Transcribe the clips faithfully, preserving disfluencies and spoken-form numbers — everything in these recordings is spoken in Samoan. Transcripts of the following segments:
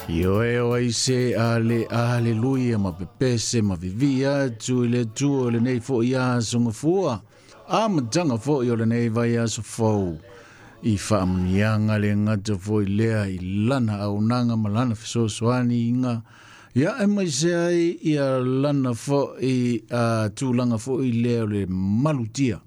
Ioe o aise ale aleluia ma pepese ma vivia atu i le Atua o lenei fo'i aso gafua amataga fo'i o lenei vaiaso fou i faamuniaga le gata fo'i lea i lana auaunaga ma lana fesoasoaniga ia e maise ai ia lana fo'i a tulaga fo'i lea o le malutia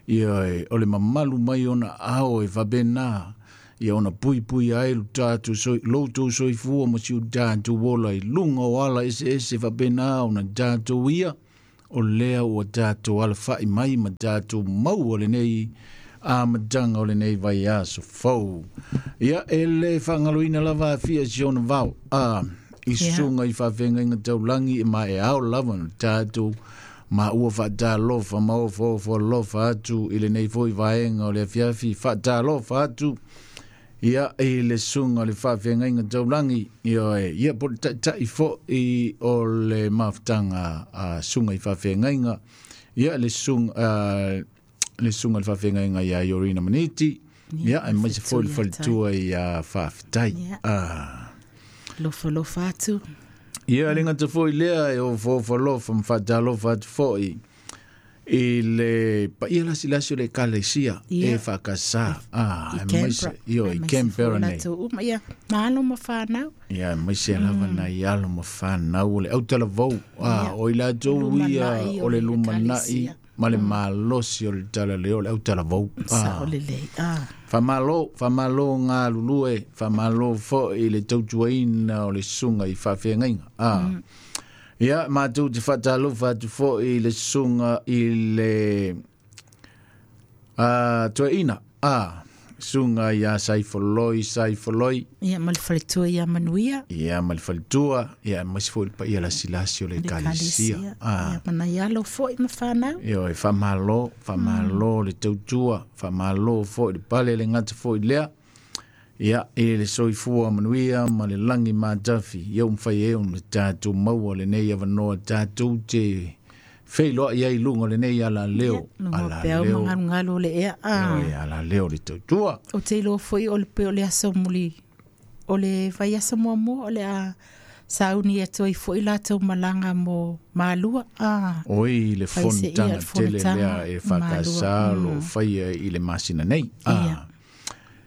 ia o le mamalu mai ona ao e faapena ia ona puipui ai lo tatou soi lo tou soifua ma si o tatou ola i luga o ala eseese faapena ona tatou ia o lea ua tatou alafa'i mai ma tatou maua lenei amataga o lenei vaiaso fou. Ia e lē faagaloina lava afia si ona vao a i susuga i faafegaiga taulagi e maeao lava na tatou ma ua faatalofa ma ofoofo alofa atu i lenei foi vaega o le afiafi faatalofa atu ia i le susuga le faafeagaiga taulagi ia e ia po o le taʻitaʻi foʻi o le mafutaga a susuga i faafeagaiga ia le susuga le susuga le faafeagaiga iā Iorina Maniti ia aemaise foi le faletua iā Faafetai. Ah. Lofalofa atu. Ia le gata foi lea e ofoofo alofa ma faatalofa atu foʻi i le paia lasilasi o le Ekalesia e faakasā a aemaise io i Canberra nei. Uma ia ma alo ma fanau. Ia aemaise lava nai alo ma fanau o le autalavou a o i latou ia o le lumanai ma le malosi o le talaleo o le autalavou. Sao lelei. Ah. Faamalo, faamalo galulue, faamalo fo'i le tautuaina o le susuga i faafeagaiga. Ah. Ia matou te faatalofa atu fo'i le susuga i le a toeaina a susuga iā Saifoloi Saifoloi. Ia ma le faletua ia Manuia. Ia ma le faletua ia aemaise foi le paia lasilasi o le Ekalesia. Ia ma nai alo fo'i ma fanau. Ioe, faamalo, faamalo le tautua, faamalo fo'i le pale le gata fo'i lea ia e le soifua manuia ma le lagi matafi ia ua mafai ai ona tatou maua lenei avanoa tatou te feiloai ai i luga o lenei alaleo alaleo magalugalo o le ea. Ioe, alaleo le tautua. O te iloa foi o le pe o le aso muli o le vaiaso muamua o le a sauni atu ai fo'i latou malaga mo Malua. Ah. Oi le fonotaga tele lea e faakasā o loo faia i le masina nei. Ah.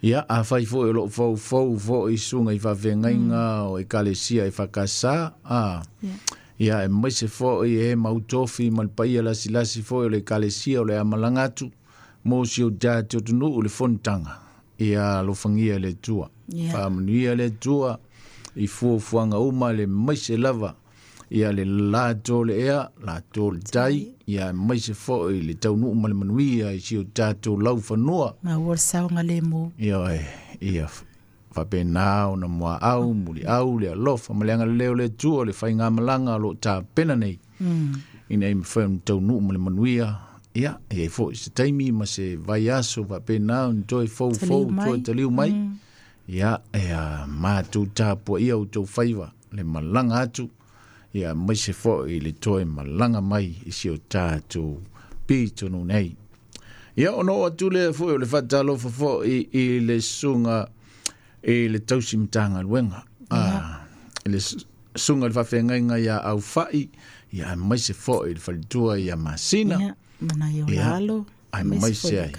Ia afai foi o loo foufou fo'i susuga i faafeagaiga o Ekalesia e faakasā a ia aemaise fo'i e mautofi ma le paia lasilasi foi o le Ekalesia o le a malaga atu mo si o tatou atunuu le fonotaga ia alofagia le Atua. Faamanuia le Atua i fuafuaga uma le maise lava ia le latou le ea latou le tai ia aemaise fo'i le taunuu ma le manuia i si o tatou laufanua. Maua le saogalemu. Ioe, ia faapena ona muaau muliau le alofa ma le agalelei o le Atua o le faigamalaga o loo tapena nei ina ia mafai ona taunuu ma le manuia. Ia e iai fo'i se taimi ma se vaiaso faapena ona toe foufou toe taliu mai. Ia e matou tapuaia outou faiva le malaga atu ia aemaise fo'i le toe malaga mai i si o tatou pitonu nei. Ia ona oo atu lea fo'i o le faatalofa fo'i i le susuga i le tausi matagaluega a le susuga i le faafeagaiga iā Aufa'i ia aemaise fo'i le faletua ia Masina. Ia ma nai ona alo aemaise ai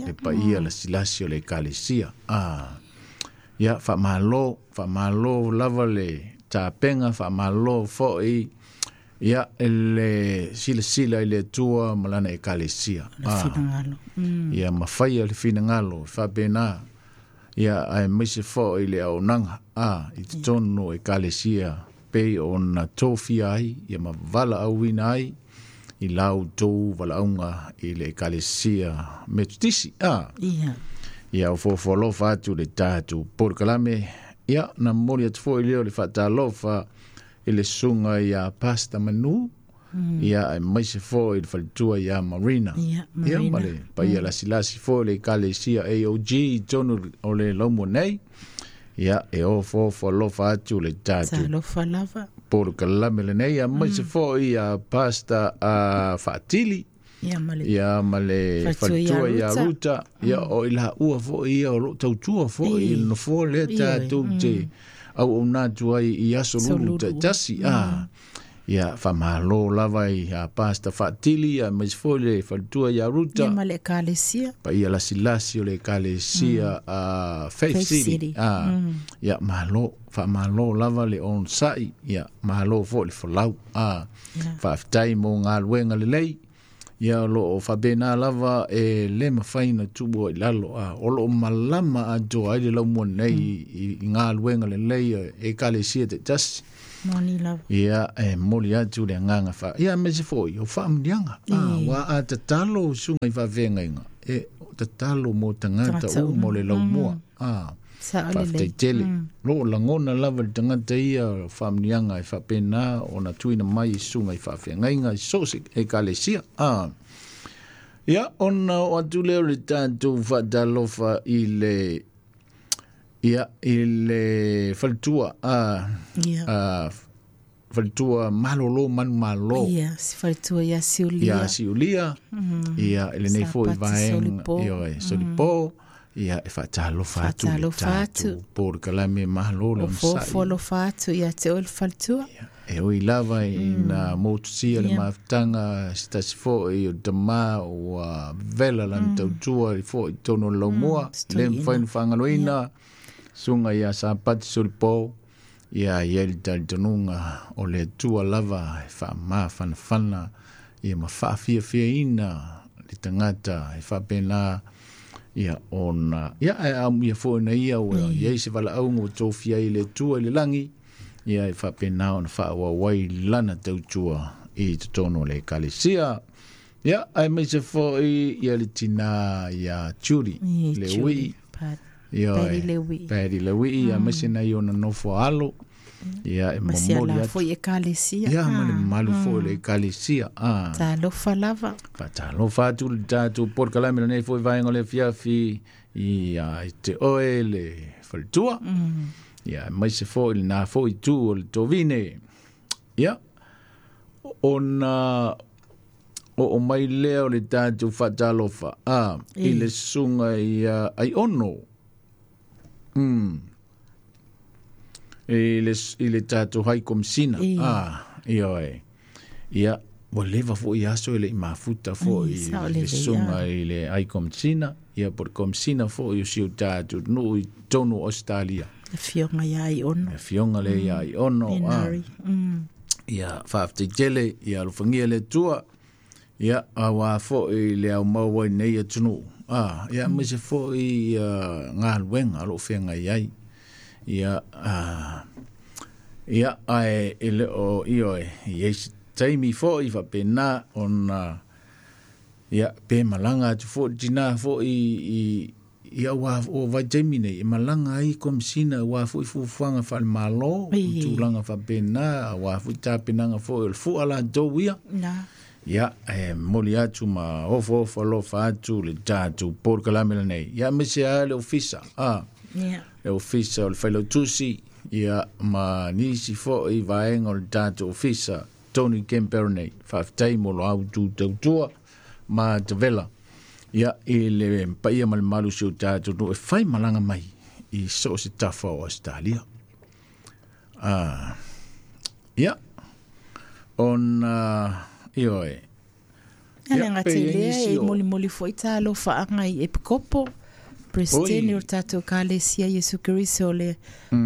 le paia lasilasi o le Ekalesia. A ia faamalo, faamalo lava le tapega, faamalo fo'i ia le silasila i le Atua ma lana Ekalesia. Finagalo. Ia mafaia le finagalo faapena ia aemaise fo'i le auaunaga a i totonu o Ekalesia pei ona tofia ai ia ma valaauina ai i la outou valaauga i le Ekalesia Metotisi. A ia ia ofoofo alofa atu le tatou polokalame. Ia na momoli atu fo'i lea o le faatalofa i le susuga iā Pasta Manu ia aemaise fo'i le faletua iā Marina. Ia Ia ma le paia lasilasi foi le Ekalesia A O G i totonu o le laumua nei. Ia e ofoofo alofa atu le tatou talofa lava polokalame lenei aemaise fo'i ia Pasta a Faatili. Ia ma le Ia ma le faletua faletua ia ia Ruta. Ruta. Ia o i laua fo'i ia o loo tautua fo'i i le nofoa lea tatou te auauna atu ai i aso lulu taitasi a ia faamālō lava i a Pastor Faatili aemaise foi le faletua ia Ruta ia ma le ekalesia paia lasilasi o le ekalesia a Faith City a ia malo faamālō lava le onosa'i ia malo foi le folau a faafetai mo galuega lelei ia o loo faapena lava e lē mafai ona tuua i lalo a o loo malama atoa ai le laumua nei i galuega lelei e ekalesia taitasi moni lava ia e momoli atu le agaga fa ia aemaise foi o faamuniaga a ua a tatalo suga i faafeagaiga e tatalo mo tagata uma o le laumua a faafetai tele loo lagona lava le tagata ia o faamuniaga e faapena ona tuuina mai i suga i faafeagaiga i so o se ekalesia a ia ona oo atu lea o le tatou faatalofa i le ia i le faletua a a faletua malolo manumalo ia si faletua ia Siulia ia Siulia ia i lenei foi vaega ia Solipo ia e faatalofa atu le tatou polokalame malo le onosai ofo alofa atu ia te oe le faletua e ui lava ina motusia le mafutaga se tasi foi o tamā ua vela lana tautua i foi i totonu o le laumua lē mafai ona faagaloina suga ia Sapati Solipo ia i ai le talitonuga o le Atua lava e faamafanafana ia ma faafiafiaina le tagata e faapena ia ona ia ae amuia foi na ia ua iai se valaauga ua tofia ai le Atua i le lagi ia e faapena ona faaauau ai lana tautua i totonu o le ekalesia ia aemaise foi ia le tinā ia Judy le ui ia Paddy le ui aemaise nai ona nofo alo ia e momoli atu foi ekalesia ia ma le mamalu foi o le ekalesia a talofa lava faatalofa atu le tatou polokalame lenei foi vaega o le afiafi ia i te oe le faletua ia aemaise foi lena foi itu o le tovine ia ona oo mai lea o le tatou faatalofa a i le susuga ia Aiono mm i le i le tatou hai komisina a ia oe ia ua leva foi aso e le'i mafuta foi le susuga i le ai komisina ia po le komisina foi o si o tatou nuu i totonu o Australia afioga ia Aiono afioga le ia Aiono a ia faafetai tele ia alofagia le Atua ia auā foi le aumau ai nei atunuu a ia aemaise foi ia galuega o loo feagai ai ia a ia ae e le o ioe i ai se taimi foi faapena ona ia pe malaga atu foi le tinā foi i ia ua o vaitaimi nei e malaga ai komisina auā foi fuafuaga faale-mālō tulaga faapena auā foi tapenaga foi o le fua latou ia ia e momoli atu ma ofoofo alofa atu le tatou polokalame lenei ia aemaise a le ofisa a le ofisa o le failautusi ia ma nisi foi vaega o le tatou ofisa Tony Canberra nei faafetai mo lo autu tautua ma tavela ia i le paia ma le mamalu o si o tatou nuu e fai malaga mai i so o se tafa o Australia a ia ona ioe Ia le gata i lea e molimoli foi talofaaga i Epikopo Presidente o tatou ekalesia Iesu Keriso le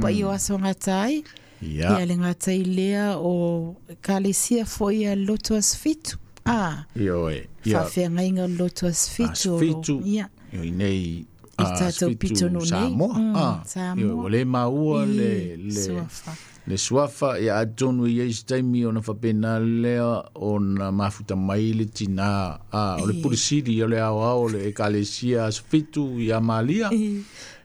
paia o aso gata ai ia le gata i lea o ekalesia foi ia Loto Asofitu a ioe ia faafeagaiga o le Loto Asofitu ia i nei i tatou pitonuu nei Samoa a Samoa ua lē maua le le suafa le suafa ia atonu i ai se taimi ona faapena lea ona mafuta mai le tinā a o le pulisili o le aoao o le ekalesia Asofitu ia Malia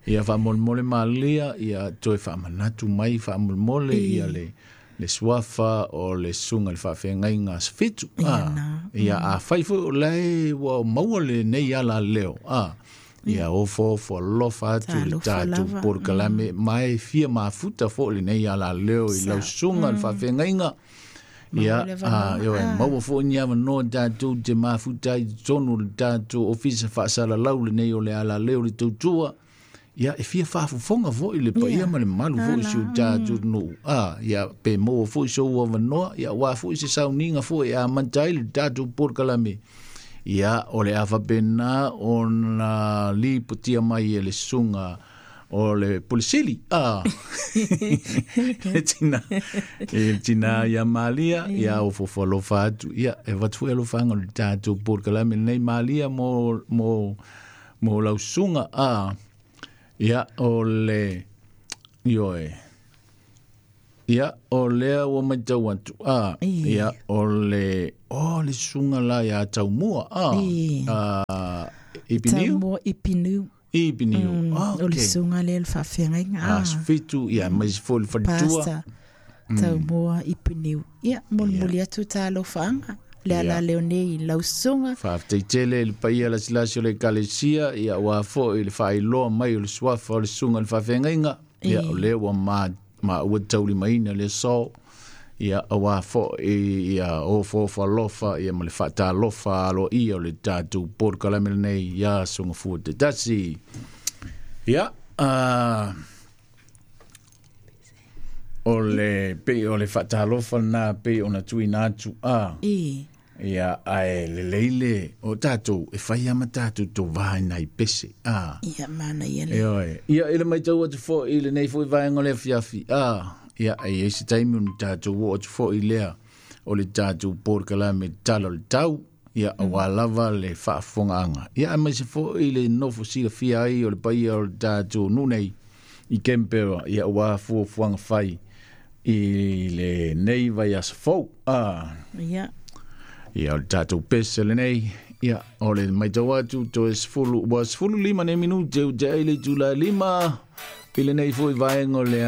ia faamolemole Malia ia toe faamanatu mai faamolemole ia le le suafa o le susuga i le faafeagaiga Asofitu a ia afai foi o lae ua maua lenei ala leo a ia ofoofo alofa atu le tatou polokalame ma e fia mafuta foi lenei ala leo i lau susuga i le faafeagaiga ia a ioe maua foi ni avanoa tatou te mafuta ai i totonu o le tatou ofisa faasalalau lenei o le ala leo le tautua Ia e fia faafofoga foʻi le paia ma le mamalu foʻi si o tatou atunuu a ia pe maua foʻi sou avanoa ia auā foʻi se sauniga foʻi e amata ai le tatou polokalame ia o le a faapena ona lipotia mai e le susuga o le Pulesili a le tina e tina ia Malia ia o fofoalofa atu ia e avatu foi alofaga o le tatou polokalame lenei Malia mo mo mo lau susuga a ia o le ioe ia o lea ua matau atu a ia o le o le susuga la ia Taumua a a Ipiniu Taumua Ipiniu Ipiniu mm, okay. O le susuga lea le faafeagaiga a fitu ia mai foi le faletua Taumua Ipiniu ia molimoli atu talofaaga le ala leo nei lau susuga faafetai tele le paia lasilasi o le ekalesia ia auā foʻi le faailoa mai o le suafa o le susuga le faafeagaiga ia o lea ua ma maua taulimaina le aso ia auā foʻi ia ofaofa alofa ia ma le faatalofa aloaia o le tatou polokalame lenei ia sogafua tetasi ia uh, o le pei o le faatalofa lenā pei ona tuuina atu a ia ae lelei le o tatou e fai ama tatou tovā i pese a ia mana ia le ioe ia i le matau atu foʻi lenei foʻi vaega o le afiafi a ia e iai se taimi ona tatou oo atu foʻi lea o le tatou polokalame tala o le tau ia auā lava le faafofogaaga ia aemaise foʻi le nofo silafia ai o le paia o le tatou nuu nei i Canberra ia auā fuafuaga fai i lenei vaiaso fou a ia ia o le tatou pese lenei ia o le matau atu toe sefulu ua sefulu lima nei minute ua tea i le itula e lima i lenei foʻi vaega o le